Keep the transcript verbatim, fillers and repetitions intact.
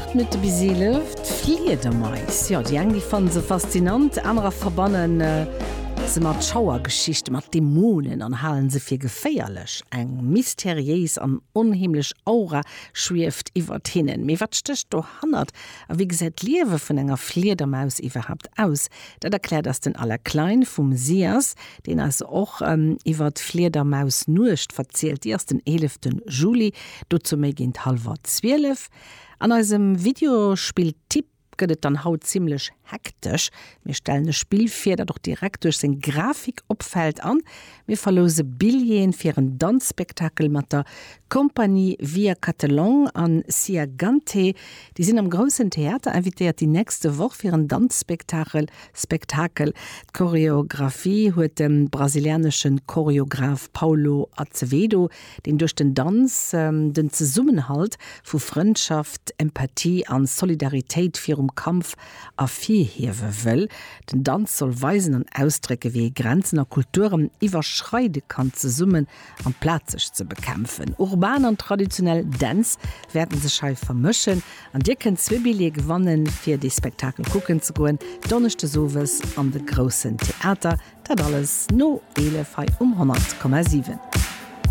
Aacht Minutte bis eelef. D'Fliedermais, jo, déi eng déi fannen se faszinant, anerer verbannen se mat Schauergeschichten, mat Dämonen an halen se fir geféierlech. Eng mysteriéis an onheemlech Aura schwieft iwwert hinnen. Mee wat stécht dohannert a wéi gesäit d'Liewe vun enger Fliedermaus iwwerhaapt aus? Dat erkläert eis den Alain Klein vum SIAS, deen eis och iwwert d'Fliedermausnuecht verzielt. Déi ass den eelefte Juli, dozou méi géint hallwer zwielef. An eisem Videospill-Tipp gëtt et dann haut zimmlech hektesch. Mir stellen e Spill vir, dat och direkt duerch seng Grafik opfält an mir verlouse Billjeeën fir en Danzspektakel mat der Compagnie Via Catelan an Sia Gante. Déi sinn am Groussen Theater invitéiert déi nächste Woch fir en Danzspektakel. Spektakel. D'Choreographie huet de brasilianesche Choreograph Paulo Azevedo, deen duerch den Danz den Zesummenhalt vu Frëndschaft, Empathie an Solidaritéit virum Kampf ervirhiewe wëll. Den Danz soll weisen an ausdrécke wéi ee Grenzen a Kulturen iwwerschreide kann zesummen amplaz sech ze bekämpfen. Urban an traditionell Dänz wäerten sech hei vermëschen an dir kënnt zwee Billjeeë gewannen fir dee Spektakel kucken ze goen, Donneschdes owes an de Groussen Theater. Dat alles no eelef hei um honnert Komma siwen.